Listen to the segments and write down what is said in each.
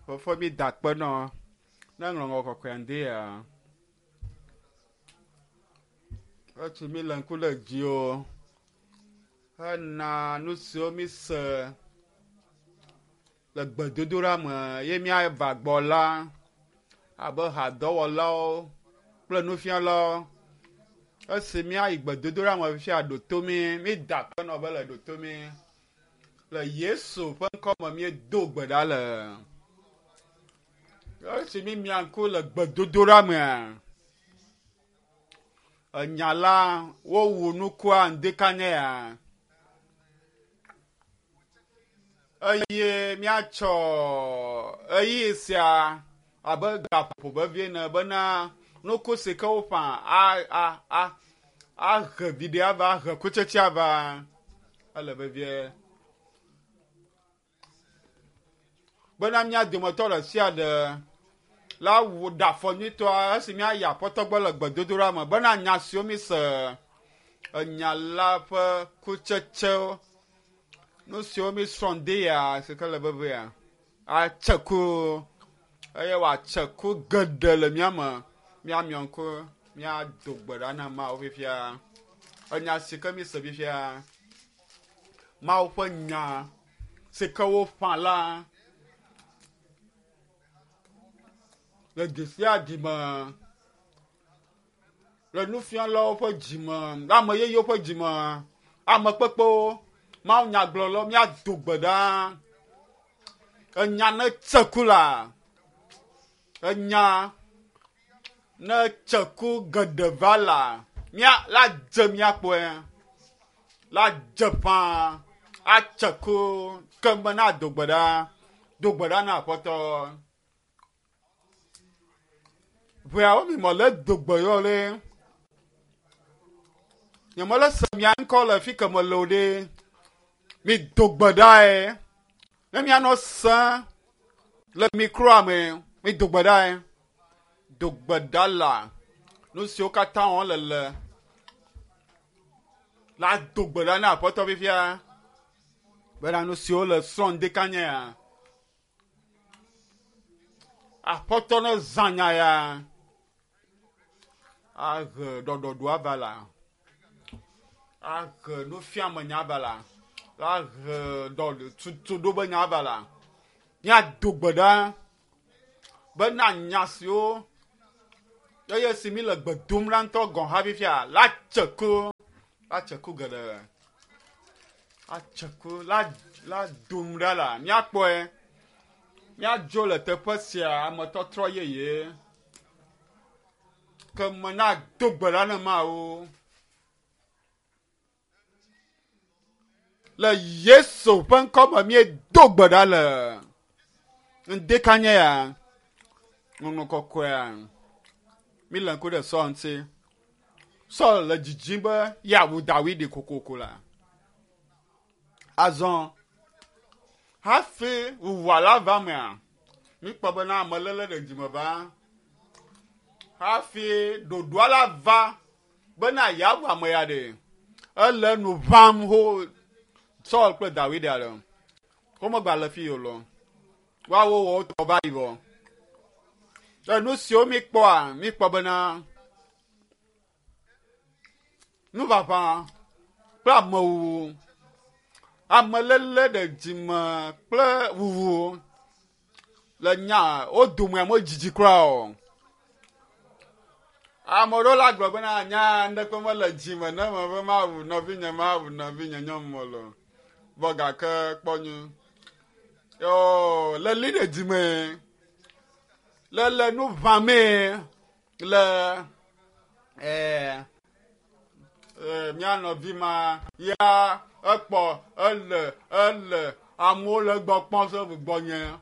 Fofo mi da akpe nɔ ne ŋlɔŋlɔ kɔkɔea ŋdi ya. Etsi mi le ŋku le dziwò hena nu siwo mi se le gbedodoɖa me ye míava gbɔ la abe hadɔwɔlawo kple nufialawo. Esi míayi gbedodoɖa me fifia ɖo to mí, mída akpe nɔ be le ɖo to mí. Le Yesu ƒe ŋkɔ me míedo gbe ɖa le. Esi mímia ŋku le gbedodoɖa mea, enya la wowu nukua ŋdikanya ya eye míatsɔ ɣeyiɣi sia abe gaƒoƒo vevi ene bena nuku si ke woƒã ahe viɖe ava, ahe kutsetse ava. Ele vevie bena mía dometɔ ɖe sia ɖe la wu ɖe afɔ nyuitɔa esi míayi Aƒetɔ gbɔ le gbedodoɖa me bena nya siwo míse enya la ƒe kutsetsewo, nu siwo mísrɔ̃ ŋdi ya si ke le vevia atse ku eye wòatse ku geɖe le mía me. Míamiɔ ŋku míado gbe ɖa na Mawu fifia. Enya si ke míse fifia, Mawu ƒe nya si ke woƒã la le du sia du me, le nufialawo ƒe dzi me, le ame yeyewo ƒe dzi me, ame kpekpewo, mawunyagblɔlawo, míado gbe ɖa. Enya ne tse ku la, enya ne tse ku geɖe va la, mía la dze míakpɔe, la dze ƒãa atse ku keŋ na do gbe ɖa, do gbe ɖa na Aƒetɔ. Ʋeawo mi mele do gbe yɔ ɖe. Nye mele se mia ŋkɔ le fi ke mele o ɖe. Mi do gbe ɖae. Ne mianɔ se le mikroa me, mi do gbe ɖae. Do gbe ɖa la nu siwo katã wɔm le le la do gbe ɖa na Aƒetɔ fifia bena nu siwo le srɔ̃ ŋdekanyea Aƒetɔ ne zã nya ya ahe ɖɔɖɔɖo ava la, ahe nufiame nya ava la, ahe ɖɔtutuɖo be nya ava la, míado gbe ɖa bena nya siwo eye si mi le gbe dom la ŋutɔ gɔ̃ hã fifia la tse ku, la tse ku geɖe, atse ku la la dom ɖa la míakpɔe. Míadzo le teƒe sia ametɔtrɔ yeye ke me nado gbe ɖa ne Mawu. Le Yesu ƒe ŋkɔ me míedo gbe ɖa le ŋdekanye ya ŋɔŋlɔ kɔkɔea. Míle ŋku ɖe Saul ŋuti. Saul le dzidzim be yeawu Dawidi kokoko la. Azɔ hafi wuwua la va mea, míkpɔ bena ameléle ɖe dzime va. Hafi ɖoɖoa la va bena yeawu ame ya ɖe, ele nu ʋãm ho Saul kple Dawid ale. Womegba le fi o lɔ. Woawo wɔ wotɔ va yi vɔ. Le nu siwo míkpɔa, míkpɔ bena Nuʋaʋã kple amewuwu, ameléle ɖe dzime kple wuwu le nya wo domea medzidzi kura o. Ame aɖewo la gblɔ bena nya ŋɖeke mele dzime ne mebe mawu nɔvinye mawu nɔvinye nyɔnu o lo. Vɔ gake kpɔ nyui. Yoo leli ɖe dzime le le nu ʋãmee. Le ɛɛ mía nɔvi ma ya ekpɔ ele ele amewo le egbɔ kpɔm se gbɔnye.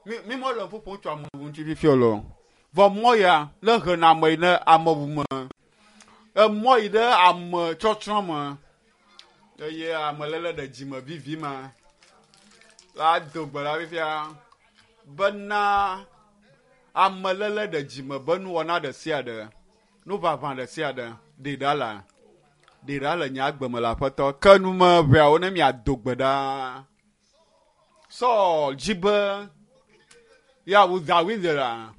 Mi mi mele ƒoƒom tso amewo ŋuti fifia o loo. Vɔ mɔ ya le hena ame yi ɖe ameŋu me. Emɔ yi ɖe ame tsɔtsrɔ̃ me eye ameléle ɖe dzime vivi ma la do gbe ɖa fifia bena Ameléle ɖe dzime be nuwɔna ɖe sia ɖe, nuʋaʋã ɖe sia ɖe, ɖee ɖa la, ɖee ɖa le nye agbe me le Aƒetɔ. Ke nu me ʋɛawo ne miado gbe ɖa. Saul dzi be Ya wu Dawid la.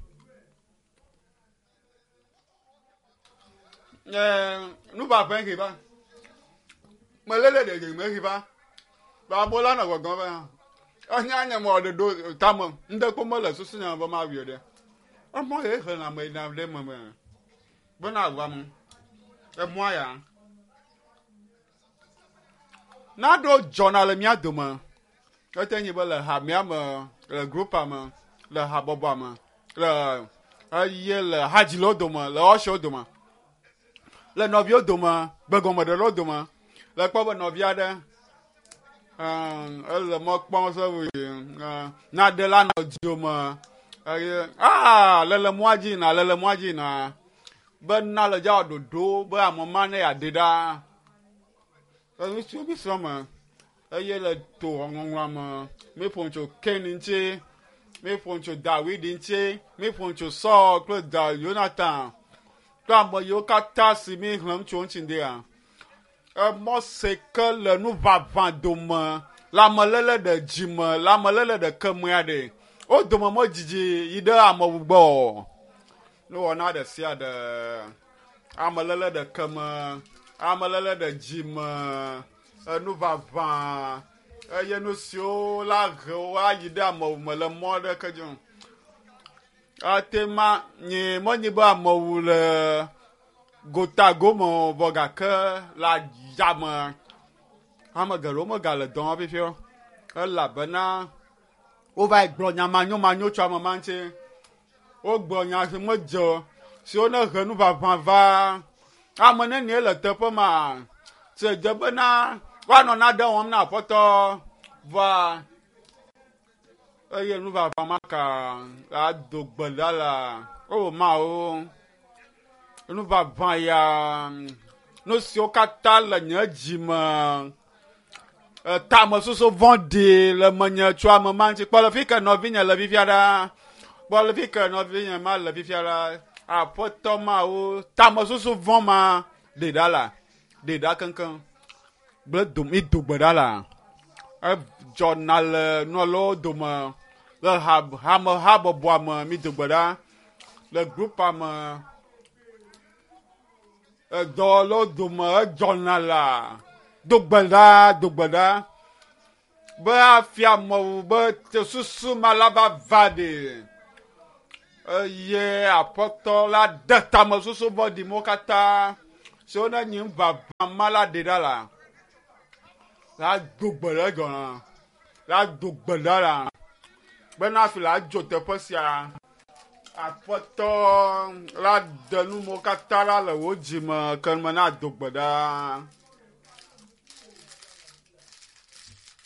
Nuʋaʋẽ ɣi va. Meléle ɖeɖi me ɣi va. Ba amewo la nɔ gbɔgblɔm be enya nye mɔ ɖe ɖo tame ŋɖe kpɔ mele susu nye be mawui ɖe. Emɔ ye xlẽna ame yina ɖe eme be bena wu ame. Emɔa ya. Naɖewo dzɔna le mía dome. Ete nyi be le hamea me, le grupea me, le habɔbɔa me, le eye le hadzilawo dome, le ɔshiwo dome, le nɔviwo dome, gbegɔmeɖelawo dome. Le kpɔ be nɔvi aɖe ele mɔ kpɔm se naɖe la nɔ dome eye aa lele mɔa dzi yina, lele mɔa dzi yina be na le dza wɔ ɖoɖo be ame ma ne yeaɖe ɖa. Le nu siwo mi srɔ̃ me eye le to ŋɔŋlɔa me míeƒo nu tso Kain ŋuti, míeƒo nu tso Dawid ŋuti, míeƒo nu tso Saul kple da Yonatan kple ame yiwo katã si mi xlẽm tso ŋuti ŋdea. Emɔ si ke le nuʋaʋã dome le ameléle ɖe dzime le ameléle ɖe kemea ɖe wo dome medzidzi yi ɖe amewu gbɔ o. Nuwɔna ɖe sia ɖe ameléle ɖe keme, ameléle ɖe dzime, enuʋaʋã eye nu siwo la he wo ayi ɖe amewu me le mɔ aɖeke dzi o. Ate ma nye menye be amewu le gota gome o vɔ gake le adzame ame geɖewo megale dɔ wɔm fifia o elabena wova yi gblɔ nya manyomanyo tso ame ma ŋuti. Wogblɔ nya si medze o siwo ne he nuʋaʋã va ame nenie le teƒe ma si dze bena woanɔ nane wɔm na aƒetɔ vɔa eye nuʋaʋã ma ka ado gbe ɖa la o Mawu nuʋaʋã ya nu siwo katã le nye dzi me tamesusu vɔ̃ɖi le menye tso ame ma ŋuti. Kpɔ le fi ke nɔvinye le fifia ɖa. Kpɔ le fi ke nɔvinye ma le fifia ɖa. Aƒetɔ Mawu tamesusu vɔ̃ ma ɖe ɖa la. Ɖe ɖa keŋkeŋ. Gble dom mi do gbe ɖa la. Edzɔna le nɔlawo dome le ha hame habɔbɔa me mi do gbe ɖa. Le grupea me edɔwɔlawo dome edzɔna la. Do gbe ɖa, do gbe ɖa be afia amewo be susu ma la va va ɖe eye aƒetɔ la ɖe tamesusu vɔ̃ɖi mawo katã siwo ne nyi ŋuʋaʋã ma la ɖe ɖa la la do gbe ɖe dzɔna la do gbe ɖa la bena hafi la dzo teƒe sia aƒetɔ la ɖe nu mawo katã ɖa le wò dzime ke me na do gbe ɖa.